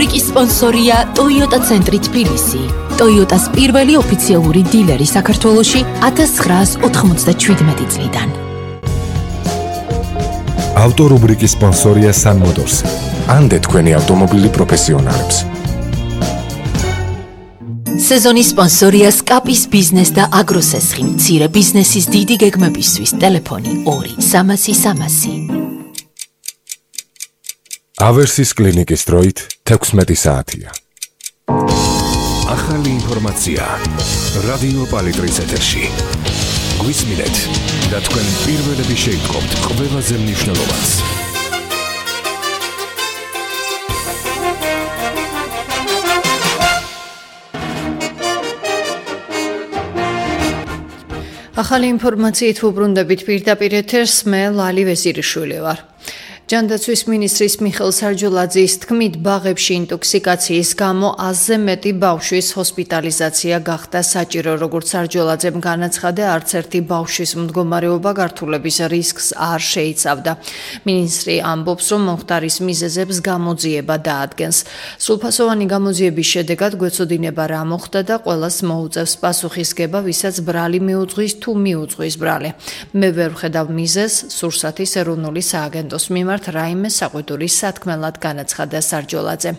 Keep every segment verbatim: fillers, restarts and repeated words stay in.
რუბრიკის სპონსორია Toyota ცენტრი თბილისი. Toyotas პირველი ოფიციალური დილერი საქართველოში ათას ცხრაას ოთხმოცდაშვიდმეტი წლიდან. ავტორუბრიკის სპონსორია Sun Motors. ანდე თქვენი ავტომობილი პროფესიონალებს. სეზონის სპონსორია სკაპის ბიზნეს და აგროსესხი. მცირე ბიზნესის დიდი გეგმებისთვის ტელეფონი ორი სამასი სამასი. ავერსის კლინიკის დროით თექვსმეტი საათია. ახალი ინფორმაცია რადიო პალიტრის ეთერში. გვისმინეთ და თქვენ პირველები შეიტყობთ ყველაზე მნიშვნელოვანს. ახალი ინფორმაციით ვუბრუნდებით პირდაპირ ეთერს, მე ლალი ვეზირიშვილი ვარ. ჯანდაცვის მინისტრის მიხეილ სარჯულაძის თქმით, ბაღებში ინტოქსიკაციის გამო ათზე მეტი ბავშვის ჰოსპიტალიზაცია გახდა საჭირო. როგორც სარჯულაძემ განაცხადა, არც ერთი ბავშვის მდგომარეობა გართულების რისკს არ შეიცავდა. მინისტრი ამბობს, რომ მომხდარის მიზეზებს გამოძიება დაადგენს. სრულფასოვანი გამოძიების შედეგად გვეცოდინება რა მოხდა და ყველას მოუწევს პასუხისგება, ვისაც ბრალი მიუძღვის თუ მიუძღვის ბრალი. მე ვერ ვხედავ მიზეზს, სურსათის ეროვნული სააგენტოს მიმართ რაიმე საყვედური სათქმელად განაცხადა სარჯულაძე.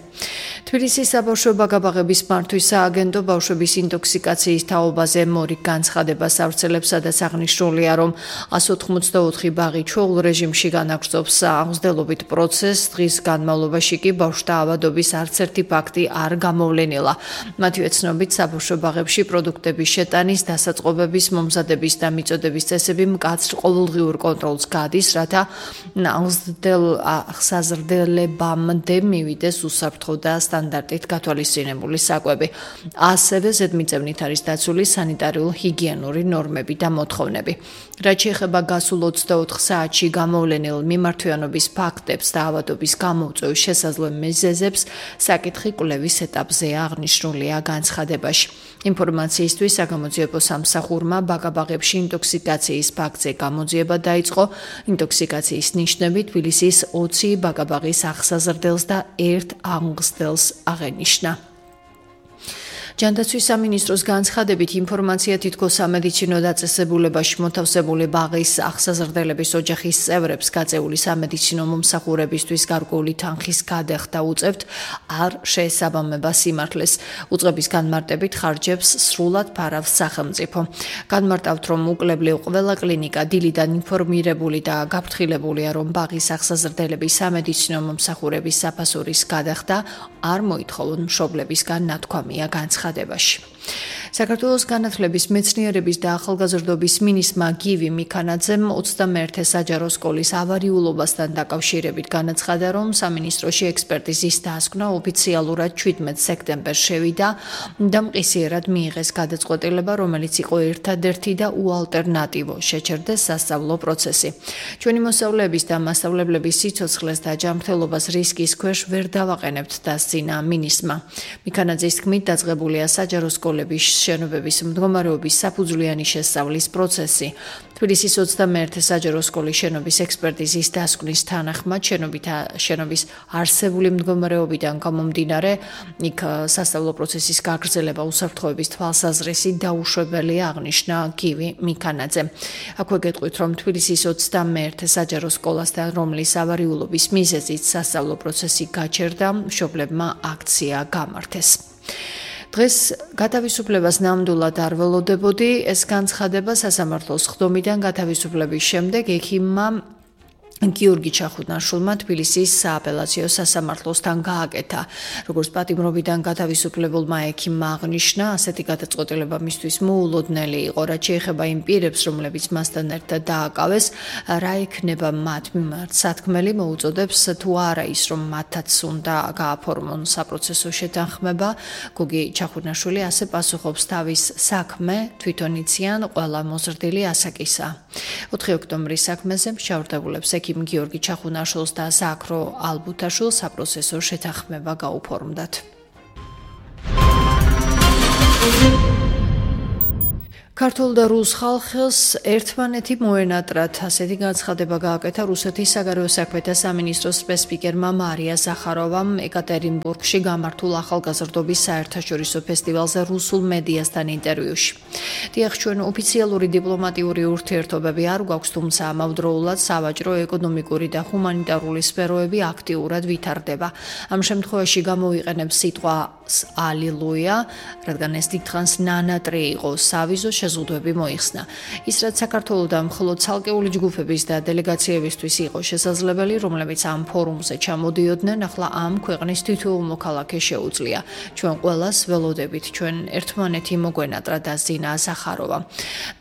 თბილისის საბავშვო ბაგაბაღების მართვის სააგენტო ბავშვების ინტოქსიკაციის თაობაზე მორიგ განცხადებას ავრცელებს, სადაც აღნიშნულია, რომ ათას ოცდაოთხი ბაღი ჩვეულ რეჟიმში განაგრძობს აღმსდელობით პროცესს. დღის განმავლობაში კი ბავშვთა ავადობის არც ერთი ფაქტი არ გამოვლენილა. მათივე ცნობით, საბავშვო ბაღებში პროდუქტების შეტანის, დასაწყობების, მომზადების და მიწოდების წესები მკაცრ ყოველდღიურ კონტროლს გადის, რათა აღსაზრდებამდე მივიდეს უსაფრთხო და სტანდარტით გათვალისწინებული საკვები. ასევე ზედმიწევნით არის დაცული სანიტარულ-ჰიგიენური ნორმები და მოთხოვნები. რაც შეეხება გასულ ოცდაოთხ საათში გამოვლენილ მიმართვიანობის ფაქტებს და ავადობის გამოუწვევის შესაძლო მიზეზებს, საკითხი კვლევის ეტაპზეა, აღნიშნულია განცხადებაში. ინფორმაციისთვის საგამოძიებო სამსახურმა ბაგაბაღებში ინტოქსიკაციის ფაქტზე გამოძიება დაიწყო. ინტოქსიკაციის ნიშნები თბილისის ოცი ბაგაბაღის აღსაზრდელს და ერთ აღმსდელს აღენიშნა. ჯანდაცვის სამინისტროს განცხადებით, ინფორმაცია თითქოს სამედიცინო დაწესებულებაში მოთავსებული ბაღის აღსაზრდელების ოჯახის წევრებს გაწეული სამედიცინო მომსახურებისთვის გარკვეული თანხის გადახდა უწევთ, არ შეესაბამება სიმართლეს. უწყების განმარტებით ხარჯებს სრულად ფარავს სახელმწიფო. განმარტავთ, რომ უკლებლიო ყველა კლინიკა დილიდან ინფორმირებული და გაფრთხილებულია, რომ ბაღის აღსაზრდელების სამედიცინო მომსახურების საფასურის გადახდა არ მოითხოვონ მშობლებისგან, ნათქვამია განცხადებაში. საქართველოს განათლების, მეცნიერების და ახალგაზრდობის მინისტრმა გივი მიქანაძემ ოცდამეერთე საჯარო სკოლის ავარიულობასთან დაკავშირებით განაცხადა, რომ სამინისტროში ექსპერტიზის დასკვნა ოფიციალურად შვიდმეტ სექტემბერს შევიდა და მყისიერად მიიღეს გადაწყვეტილება, რომელიც იყო ერთადერთი და უალტერნატივო შეჩერდეს სასწავლო პროცესი. ჩვენი მოსწავლეების და მასწავლებლების სიცოცხლეს და ჯანმრთელობას რისკის ქვეშ ვერ დავაყენებთ, დასძინა მინისტრმა. მიქანაძის თქმით, დაწყებულია საჯარო სკოლების შენობების მდგომარეობის საფუძვლიანი შესწავლის პროცესი. თბილისის ოცდამეერთე საჯარო სკოლის შენობის ექსპერტიზის დასკვნის თანახმად შენობის არსებული მდგომარეობიდან გამომდინარე, იქ სასწავლო პროცესის გაგრძელება უსაფრთხოების თვალსაზრისით დაუშვებელია, აღნიშნა გივი მიქანაძემ. აქვე გეტყვით, რომ თბილისის ოცდამეერთე საჯარო სკოლასთან, რომლის ავარიულობის მიზეზით სასწავლო პროცესი გაჩერდა, მშობლებმა აქცია გამართეს. დღეს გათავისუფლებას ნამდვილად არ ველოდებოდი. ეს განცხადება სასამართლოს ხდომიდან გათავისუფლების შემდეგ ექიმმა გიორგი ჩახუნაშვილმა თბილისის სააპელაციო სასამართლოსთან გააკეთა. როგორც პატიმრობიდან გათავისუფლებულმა ექიმმა აღნიშნა, ასეთი გადაწყვეტილება მისთვის მოულოდნელი იყო, რაც შეეხება იმ პირებს, რომლებიც მასთან ერთად დააკავეს, რა იქნება მათ მიმართ სათქმელი, მოუწოდებს თუ არა ის, რომ მათაც უნდა გააფორმონ საპროცესო შეთანხმება. გოგი ჩახუნაშვილი ასე პასუხობს, თავის საქმე თვითონ იციან ყველა მოზრდილი ასაკისა. ოთხი ოქტომბრის საქმეზე მშავრდებულებს ექიმ გიორგი ჩახუნაშვილს და ზაქრო ალბუთაშვილს საპროცესო შეთანხმება გაუფორმდათ. ქართულ და რუს ხალხს ერთმანეთი მოენატრათ, ასეთი განცხადება გააკეთა რუსეთის საგარეო საქმეთა სამინისტროს სპეცსპიკერმა მარია ზახაროვამ ეკატერინბურგში გამართულ ახალგაზრდობის საერთაშორისო ფესტივალზე რუსულ მედიასთან ინტერვიუში. დიახ, ჩვენ ოფიციალური დიპლომატიური ურთიერთობები არ გვაქვს, თუმცა ამავდროულად სავაჭრო, ეკონომიკური და ჰუმანიტარული სფეროები აქტიურად ვითარდება. ამ შემთხვევაში გამოვიყენებ სიტყვას ალილუია, რადგან ეს დიდხანს ნანატრი იყო, სავიზო შეზღუდვები მოიხსნა. ის რაც საქართველოსთან მხოლოდ ცალკეული ჯგუფების და დელეგაციებისთვის იყო შესაძლებელი, რომლებიც ამ ფორუმზე ჩამოდიოდნენ, ახლა ამ ქვეყნის თითოეულ მოქალაქეს შეუძლია. ჩვენ ყველას ველოდებით, ჩვენ ერთმანეთი მოგვენატრა და ზინა ზახაროვა.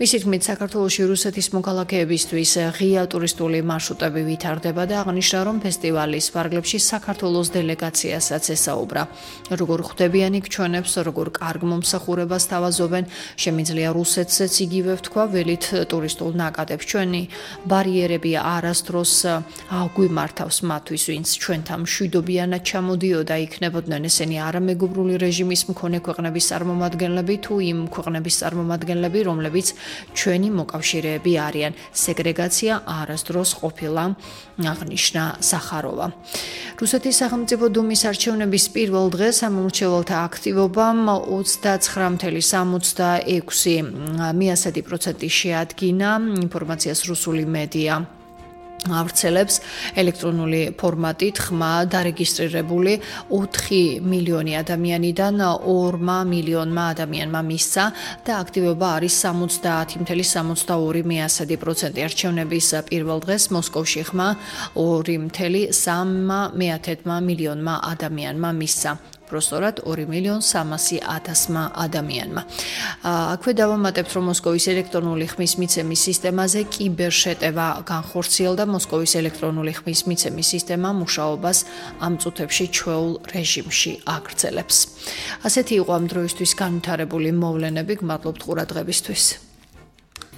მისი თქმით, საქართველოში რუსეთის მოქალაქეებისთვის ღია ტურისტული მარშრუტები ვითარდება და აღნიშნა, რომ ფესტივალის ფარგლებში საქართველოს დელეგაციასაც ესაუბრა. როგორ ხვდებიან იქ ჩვენებს, როგორ კარგ მომსახურებას თავაზობენ, შემიძლია რუსეთზეც იგივე ვთქვა, ველით ტურისტულ ნაკადებს. ჩვენი ბარიერები არასდროს აგვიმართავს მათთვის, ვინც ჩვენთან მშვიდობიანად ჩამოდიოდა, იქნებოდნენ ესენი არამეგობრული რეჟიმის მქონე ქვეყნების წარმომადგენლები თუ იმ ქვეყნების წარმომადგენლები, რომლებიც ჩვენი მოკავშირეები არიან. სეგრეგაცია არასდროს ყოფილა, აღნიშნა ზახაროვა. რუსეთის სახელმწიფო დუმის არჩევნების პირველ დღეს ამომრჩეველთა აქტივობამ ოცდაცხრა virgulă სამოცდა ექვსი პროცენტი შეადგინა, ინფორმაციას რუსული მედია ავრცელებს ელექტრონული ფორმატით. ხმა დარეგისტრირებული ოთხი მილიონი ადამიანიდან ორმა მილიონმა ადამიანმა მისცა და აქტივობა არის სამოცდაათი virgulă სამოცდა ორი პროცენტი. არჩევნების პირველ დღეს მოსკოვში ხმა ორი virgulă სამი მილიონმა ადამიანმა მისცა. Prostorad ორი მილიონ სამასი ათასმა ადამიანმა. აქვე დავამატებთ, რომ მოსკოვის ელექტრონული ხმის მიცემის სისტემაზე კიბერშეტევა განხორციელდა. მოსკოვის ელექტრონული ხმის მიცემის სისტემა მუშაობას ამ წუთებში ჩვეულ რეჟიმში აგრძელებს. ასეთი იყო ამ დროისთვის განვითარებული მოვლენები. გმადლობთ ყურადღებისთვის.